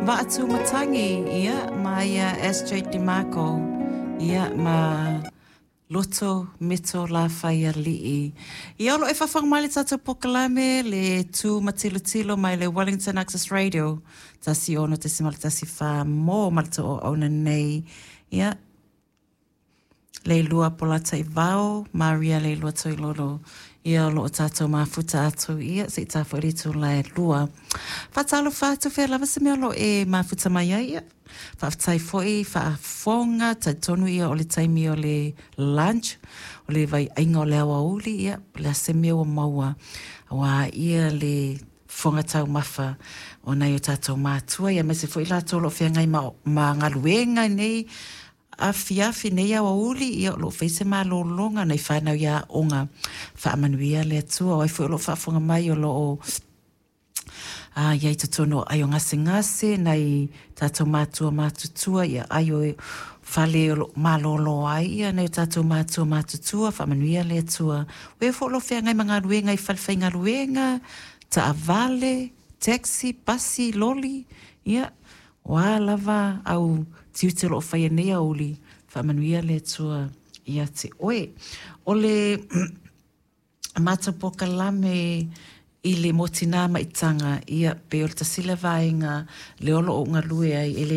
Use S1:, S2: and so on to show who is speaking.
S1: Vaatumatagi, ia, ma ia SJ DeMarco, ia, ma Loto Meto Lafaialii. Ia, o lo o e faafofoga mai i le tatou polokalame, le Tu ma Tilotilo mai le Wellington Access Radio, 16.14 mo ma le auauna nei. Ia, Leilua Polataivao, Maria Leilua Toilolo, ia o lo o tatou mafuta atu, ia se i ta foi le itula e 2. Faatalofa atu fea lava se mea o lo o e mafuta mai ai, ia. Faafetai foi faafofoga, talitonu ia o le taimi o le lunch, o le vaiaiga o le aoauli, ia, o le a se mea ua maua, aua ia le fofoga taumafa o nai o tatou matua, ia aemaise foi latou o lo o feagai ma, ma galuega nei, afiafi nei aoauli, ia o lo o fai se malologa nai fanau i aoga. Faamanuia le Atua. O ai foi o lo o faafofoga mai o lo o a i ai totonu o aio gasegase, nai tatou matua matutua, ia aio fale o lo o malolo ai ia nai o tatou matua matutua, faamanuia le Atua. O e foi o lo o feagai ma galuega i fale faigaluega, taavale, taxi, pasi, loli, ia, O a lava au tiute o lo o faia i lenei aoauli, faamanuia le Atua ia te oe. O le matou polokalame i le mo Tina ma Itaga, ia pei o le tasi lea vaega lea o lo o ou galue ai, e le